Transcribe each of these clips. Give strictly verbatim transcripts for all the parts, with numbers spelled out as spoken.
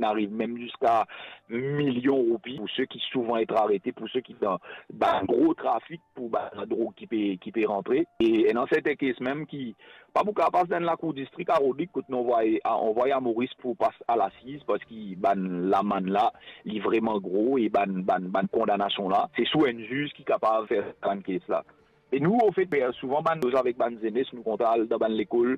ariv mem ziska milion roupi pou seki souvan et arete, pou seki dan bann gro trafik, pou bann ladrog ki pe, ki pe rantre. E ena serten kes mem ki pa pou kapav pas dan lakour distrik a Rodrig, kot nou anvway, a, anvway a Moris pou pas a lasiz, parski bann lamann la, li vreman gro, e bann, bann, bann kondanasion la, se sou enn ziz ki kapav fer bann kes la. E nou, anfet, pe souvan bann koz avek bann zenes, nou kontan al dan bann lekol,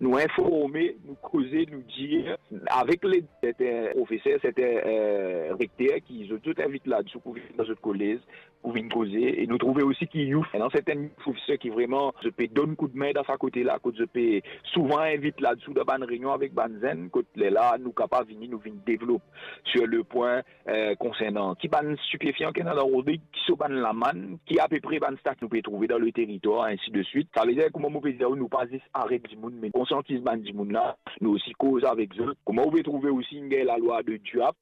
nou informe, nou koze, nou dir, avek led serten profeser, serten, eh, rekter ki zot, zot invit la, zot pou vinn dan zot kolez, pou vinn koze. E nou trouve osi ki youth, ena serten youth officer ki vreman, zot pe donn koudme dan sa kote la, kot zot pe souvan invit la, dan bann reynion avek bann zenn, kot lerla nou kapav vini, nou vinn devlop sur le pwin, eh, konsernan ki bann stipefian ki ena dan Rodrig, ki so bann lamann, ki apepre bann stak nou pe trouve dan le teritwar, ensi de swit. Savedir, kouma mo pe dir, nou pa zis aret dimoun, me konsiantiz bann dimoun la, nou osi koz avek zot. Kouma ou pe trouve osi, inn gagn lalwa de DUAP,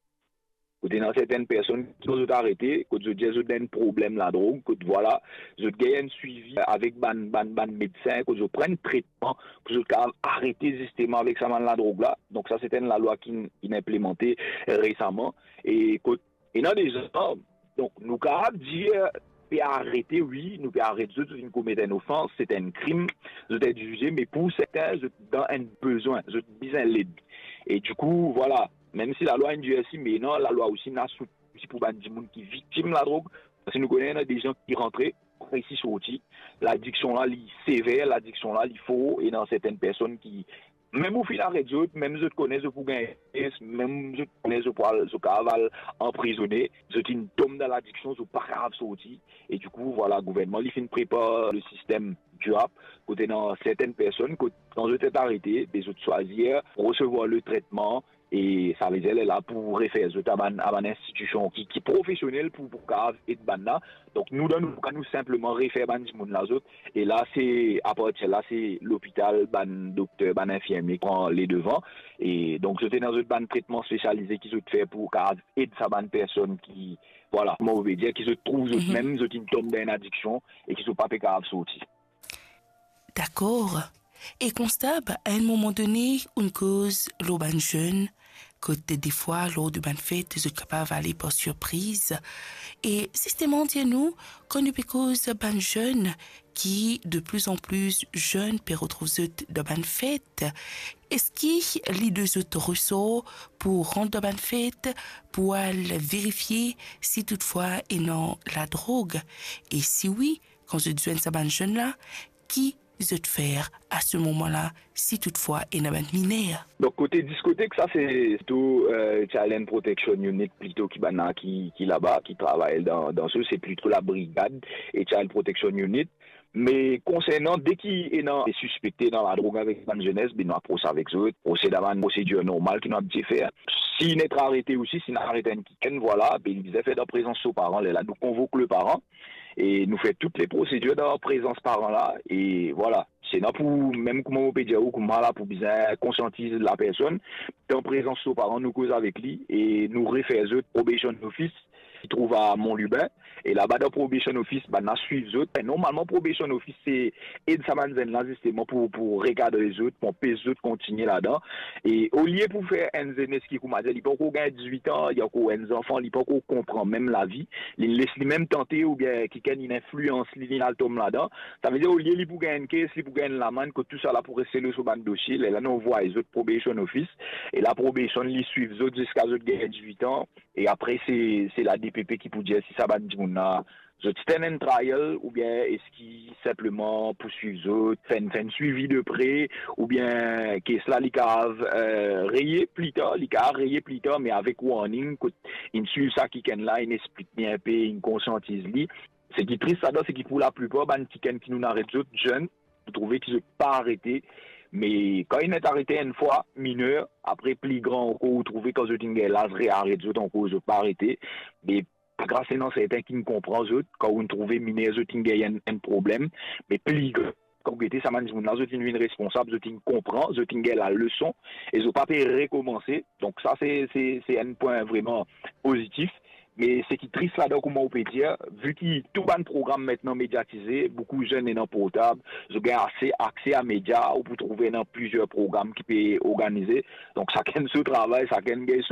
kot ena serten personn ki zot arete, kot zot dir zot ena enn problem ladrog, kot vwala, zot gagn enn swivi avek bann, bann, bann medsin, kot zot pran tretman pou zot kapav arete zisteman avek sa bann ladrog la. Donk sa, se enn lalwa ki, ki inn inplimante resaman. E kot ena deza, donk nou kapav dir, pe arete, wi, nou pe aret zot, zot inn komet enn ofans, se enn krim, zot inn zize, me pou serten, zot dan enn bezwin, zot bizin led. E dikou, vwala, mem si lalwa inn dirsi, me ena lalwa osi ena soutien pou bann dimoun ki viktim ladrog, parski nou kone ena de zenn ki rantre, pa resi sorti. Ladiksion la, li sever, ladiksion la, li for, e ena serten personn ki, mem ou finn aret zot, mem zot kone zot pou gagn, mem zot kone zot pou al, zot kapav al anprizone, zot inn tom dan ladiksion, zot pa kapav sorti. E dikou, vwala, gouvernman, li finn prepar le sistem DUAP, kot ena serten personn, kot kan zot inn arete, be zot swazir resevwar le tretman, e savedir lerla pou refer zot a bann, a bann institision ki, ki profesionel pou, pou kapav ed bann la. Donk nou, dan nou ka, nou sinpleman refer bann dimoun la zot. E la, se, apartir la, se lopital, bann dokter, bann infirmie ki pran ledevan. E donk, zot ena zot bann tretman spesialize ki zot fer pou kapav ed sa bann personn ki, vwala, kouma ou pe dir, ki zot trouv zot mem, zot inn tom dan enn adiksion e ki zot pa pe kapav sorti. Dakor. E konstab, a enn moman done, ou'nn koz lor bann zenn, kot defwa, lor de bann fet, zot kapav ale par sirpriz. E zisteman, dir nou, kan nou pe koz bann zenn, ki de plus en plus zenn pe retrouv zot dan bann fet, eski li de zot resor pou rant dan bann fet, pou al verifie si toutfwa ena ladrog? E si wi, kan zot zwenn sa bann zenn la, ki zot fer a se moman la, si toutfwa ena bann miner? Donk, kote diskotek, sa se plito, eh, Child and Protection Unit, plito ki bann la ki, ki laba, ki travay dan, dan sa, se plito labrigad e Child Protection Unit. Me konsernan, deki ena sispekte dan ladrog avek bann zenes, be nou apros avek zot, prose dan bann prosedir normal ki nou abitye fer. Si inn arete osi, si inn aret enn kikenn, vwala, be li bizin fer dan prezans so paran, lerla nou konvok le paran, e nou fer tou le prosedir dan prezans paran la, e vwala. Se ena pou, mem kouma mo pe dir ou, kouma la pou bizin konsiantiz lapersonn, dan prezans so paran, nou koz avek li, e nou refer zot probation office, ki trouv a Mont Lubin, e laba dan probation office, bann la swiv zot. Normalman, probation office, se ed sa bann zenn la, zisteman, pou, pou rekadre zot, pou anpes zot kontigne ladan. E olie pou fer enn zenes ki, kouma dir, li pankor gagn dizwit an, li ankor enn zanfan, li pankor konpran mem lavi, li les li mem tante oubien kikenn inn inflians li, li al tom ladan. Savedir, olie li pou gagn enn kes, li pou gagn enn lamann, kot tousala pou reste lor so bann dosie, lerla nou anvway zot probation office, e la probation, li swiv zot ziska zot gagn dizwit an, e apre, se, se la D P P ki pou dir si sa bann dimoun la, zot ti ena enn trial, oubien eski sinpleman pou swiv zot, fer enn, fer enn swivi de pre, oubien kes la, li kapav, eh, reye pli tar, li kapav reye pli tar, me avek warning, kot inn swiv sa kikenn la, inn explik li enpe, inn konsiantiz li. Seki tris ladan, seki pou laplipar bann kikenn ki nou aret zot, zenn, ou trouve ki zot pa arete, me kan inn arete enn fwa, miner, apre pli gran ankor, ou trouve kan zot inn gagn laz, rearet zot ankor, zot pa arete. Me pa gras, ena serten ki'nn konpran zot, kan ou'nn trouve miner, zot inn gagn enn, enn problem, me pli gran, kan ou gete sa bann dimoun la, zot inn vinn responsab, zot inn konpran, zot inn gagn laleson, e zot pa pe rekomanse. Donk sa, se, se, se enn pwin vreman pozitif. Me seki tris ladan, kouma ou pe dir, vi ki tou bann program aster mediatize, boukou zenn ena portab, zot gagn ase akse a media, ou pou trouve ena plizier program ki pe organize. Donk sakenn so travay, sakenn gagn so